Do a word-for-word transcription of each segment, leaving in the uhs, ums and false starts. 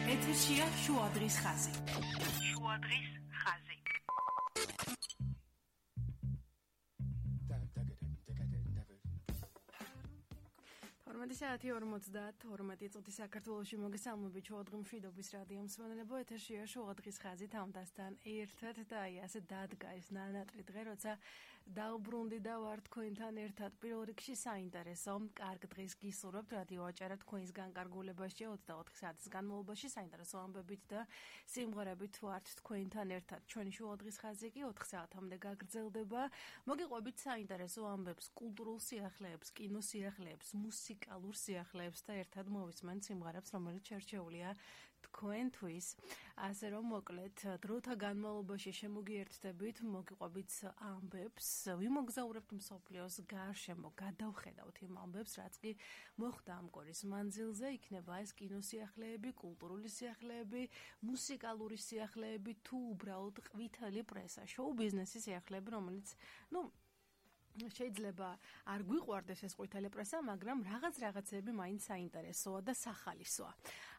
ეთერშია შუადღის ხაზი. შუადღის ხაზი. თორმეტი საათი ორმოცდათორმეტი წუთი საქართველოში მოგესალმებით შუადღი მშვიდობის რადიო მსმენელებო ეთერშია შუადღის ხაზი თამდასთან ერთად და აი ასე დადგა ეს ნანატრი დღე როცა დავბრუნდი და ვარ თქვენთან ერთად პირველ რიგში საინტერესო კარგ დღეს გისურვებთ რადიო აჭარა თქვენს განკარგულებაში ოცდაოთხი საათის განმავლობაში საინტერესო ამბებით და სიმღერებით ვართ თქვენთან ერთად ჩვენი შუადღის ხაზი კი ოთხ საათამდე გაგრძელდება მოგიყვებით საინტერესო ამბებს კულტურულ სიახლეებს კინო სიახლეებს მუსიკა ალურ სიახლეებს და ერთად მოვისმენთ სიმღერებს, რომელიც შერჩეულია თქვენთვის. ასე რომ მოკლედ დროთა განმავლობაში შემოგიერთდებით, მოგიყვებით ამბებს, ვიმოგზაურებთ მსოფლიოს გარშემო, გადავხედავთ იმ ამბებს, რაც კი მოხდა ამ კორის მანძილზე, იქნება ეს კინოსიახლეები, კულტურული სიახლეები, მუსიკალური სიახლეები, თუ უბრალოდ ყვითელი პრესა, შოუ-ბიზნესის სიახლეები, რომელიც, ну, შეიძლება არ გვიყვარდეს ეს ყვითელი პრესა, მაგრამ რაღაც რაღაცები მაინც საინტერესოა და სახალისოა.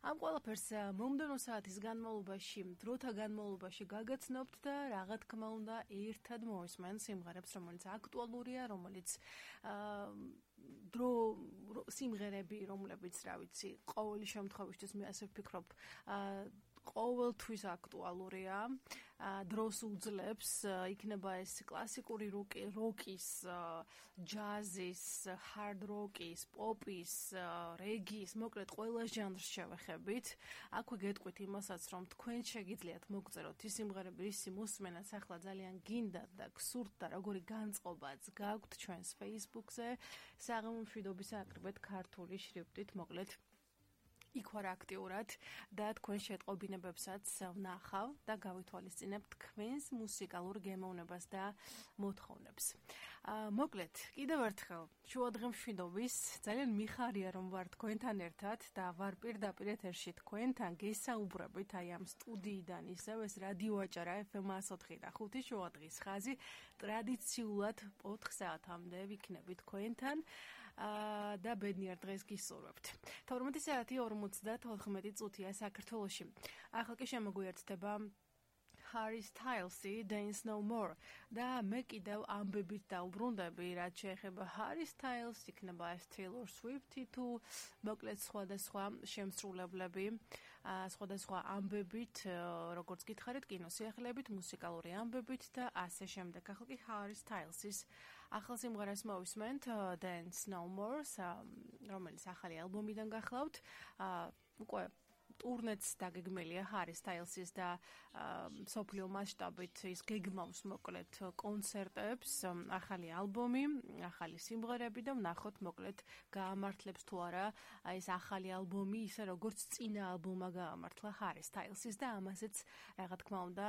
ამ ყველაფერს მომდევნო საათის განმავლობაში, დროთა განმავლობაში გაგაცნობთ და რა თქმა უნდა, ერთად მოვისმენთ სიმღერებს, რომელიც აქტუალურია, რომელიც აა დრო სიმღერები, რომლებიც, რა ვიცი, ყოველი შემთხვევაში მე ასე ვფიქრობ, აა ყოველთვის აქტუალურია, დროს უძლებს, იქნება ეს კლასიკური როკის, ჯაზის, ჰარდ როკის, პოპის, რეგის, მოკლედ ყველა ჟანრს შევეხებით. აქვე გეტყვით იმასაც, რომ თქვენ შეგიძლიათ მოგწეროთ ის სიმღერები, ისი მოსმენაც ახლა ძალიან გინდათ და გსურთ და როგორი განწყობაც გაქვთ ჩვენს Facebook-ზე, საღამო მშვიდობის აკრიბეთ ქართული შრიფტით, მოკლედ იქ ვარ აქტიურად და თქვენ შეტყობინებებსაც ვნახავ და გავითვალისწინებ თქვენს მუსიკალურ გემოვნებას და მოთხოვნებს. აა მოკლედ, კიდევ ერთხელ შუადღე მშვიდობის, ძალიან მიხარია რომ ვარ თქვენთან ერთად და ვარ პირდაპირ ეთერში თქვენთან გესაუბრებით აი ამ სტუდიიდან ისევ ეს რადიო აჭარა ეფ ემ εκατო ოთხი და ხუთი შუადღის ხაზი ტრადიციულად ოთხ საათამდე ვიქნები თქვენთან აა და ბედნიერ დღეს გისურვებთ. თორმეტი საათი ორმოცდათოთხმეტი წუთია საქართველოში. ახლა კი შემოგვიერთდება Harry Styles-ი Dance No More და მე კიდევ ამბებით დავბრუნდები, რაც შეეხება Harry Styles, იქნება ეს Taylor Swift-ი თუ მოკლედ სხვადასხვა შემსრულებლები, სხვადასხვა ამბებით, როგორც გითხარით, კინოსიახლეებით, მუსიკალური ამბებით და ასე შემდეგ. ახლა კი Harry Styles-ის ახალ სიმღერას მოვისმენთ Dance No More, რომელიც ახალი ალბომიდან გახლავთ. უკვე ტურნეც დაგეგმილია Harry Styles-ის და მსოფლიო მასშტაბით ის გეგმავს მოკლედ კონცერტებს, ახალი ალბომი, ახალი სიმღერები და ვნახოთ მოკლედ გაამართლებს თუ არა ეს ახალი ალბომი ისე როგორც წინა ალბომა გაამართლა Harry Styles-ის და ამასაც რა თქმა უნდა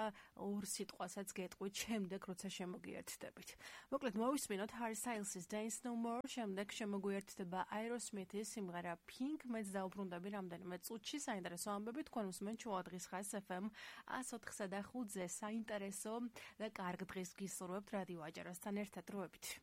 ორ სიტყვასაც გეტყვით შემდეგ როცა შემოგიერთდებით. მოკლედ მოვისმინოთ Harry Styles-ის Dance No More, შემდეგ შემოგვიერთდება Aerosmith-ის სიმღერა Pink, მეც დავბრუნდები რამდენიმე წუთში საინტერესო ამბები თქვენ უსმენთ შუადღის ხაზს ეფ ემ εκατო ოთხსა და ხუთზე საინტერესო და კარგ დღეს გისურვებთ რადიო აჭარასთან ერთად დროებით.